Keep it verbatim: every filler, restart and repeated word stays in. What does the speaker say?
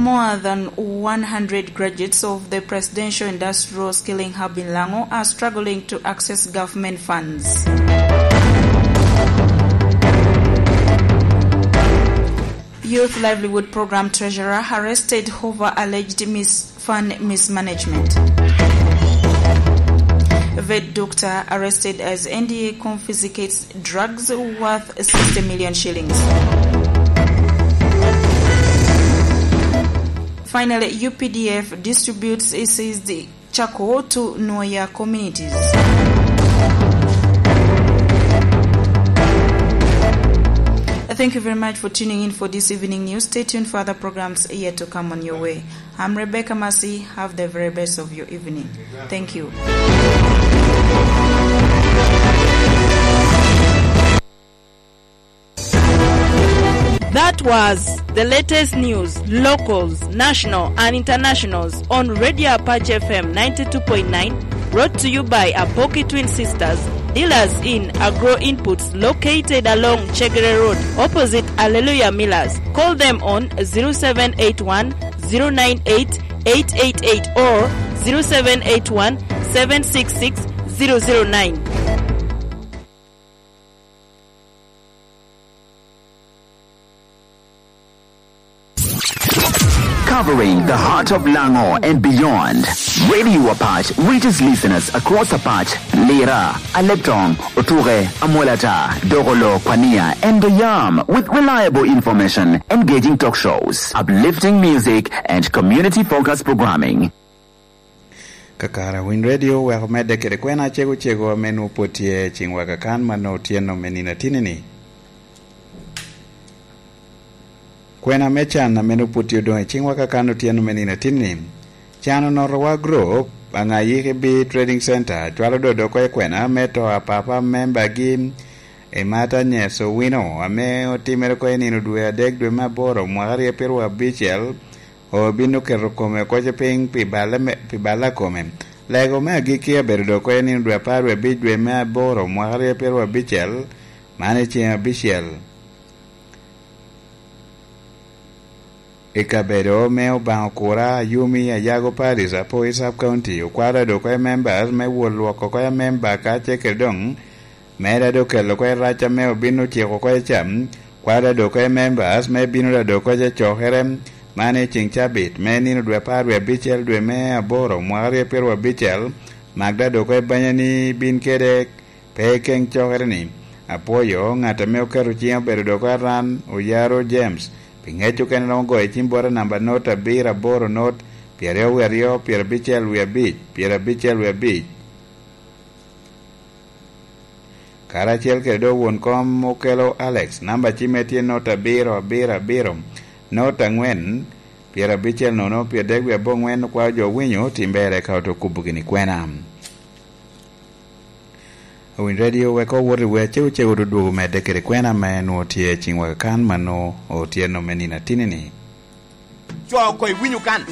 More than one hundred graduates of the Presidential Industrial Skilling Hub in Lango are struggling to access government funds. Youth Livelihood Program treasurer arrested over alleged mis-, fund mismanagement. Vet doctor arrested as N D A confiscates drugs worth sixty million shillings. Finally, U P D F distributes seized charcoal to Nwoya communities. Thank you very much for tuning in for this evening news. Stay tuned for other programs yet to come on your way. I'm Rebecca Mercy. Have the very best of your evening. Thank you. That was the latest news, locals, national and internationals on Radio Apache F M ninety-two point nine, brought to you by Apoki Twin Sisters, dealers in agro inputs located along Chegere Road, opposite Alleluia Millers. Call them on zero seven eight one, zero nine eight, eight eight eight or zero seven eight one, seven six six, zero zero nine. Covering the heart of Lango and beyond, Radio Apache reaches listeners across Apache, Lira, Aleptong, Otuke, Amolata, Dogolo, Kwania, and Doyam with reliable information, engaging talk shows, uplifting music, and community-focused programming. Kakare Winy Radio oweko medde kede kwena acego cego ame nwoŋo pwod tye i ciŋwa kakan ma nwoŋo otyeno me nino atinni-ni. Kwena me can ame nwoŋo pwod tye odoŋ i ciŋwa kakan otyeno me nino atinni. Can onotowa gurup, Aŋayiki B Trading Center, cwalo dodo oko i kwena me to a papa membagi, Emata Nyes Owino, ame otimere oko i nino dwe adek dwe me aboro mwaka aryo pyeraryo abicel, obino keto kome oko piny pi balle me, pi balle a kome. Lego me agikki abedo doŋ oko i nino dwe apar wie abic dwe me aboro mwaka aryo pyeraryo abicel, man i ceŋ abicel. I kabedo me Obaŋa Okura, Ayumi, Ayago Parish, Apoi Sub County, okwalo doŋ oko members me wot lwoko oko member ka ce kede doŋ Medo ado kelo oko rac ame obin ociko oko ca, kwalo ado oko members me bino ado oko cokere, man i ceŋ cabit me nino dwe apar wie abicel dwe me aboro mwaka aryo pyeraryo abicel, mak ado oko banya ni bin kede pe i keŋ cokere ni. Apwoyo ŋat ame oketo ciŋe obedo ado oko Aran Oyaro James, pi ŋec okene romo goyo cim bota namba not abiro aboro not, pyeraryo wie aryo, pyerabicel wie abic, pyerabicel wie abic. Karacel kede doŋ won kom okelo Alex, namba cimme tye not abiro abiro abiro, not angwen, pyerabicel nono, pyeradek wie aboŋwen, okwao jo winyo tim berre ka oto kubo gini kwena. Owiny Radio wek owot i wer cego cego dudwogo medde kede kwena ma en nwoŋo tye i ciŋwa kakan ma nwoŋo otyeno me nino atinni-ni. Co oko iwinyo kan.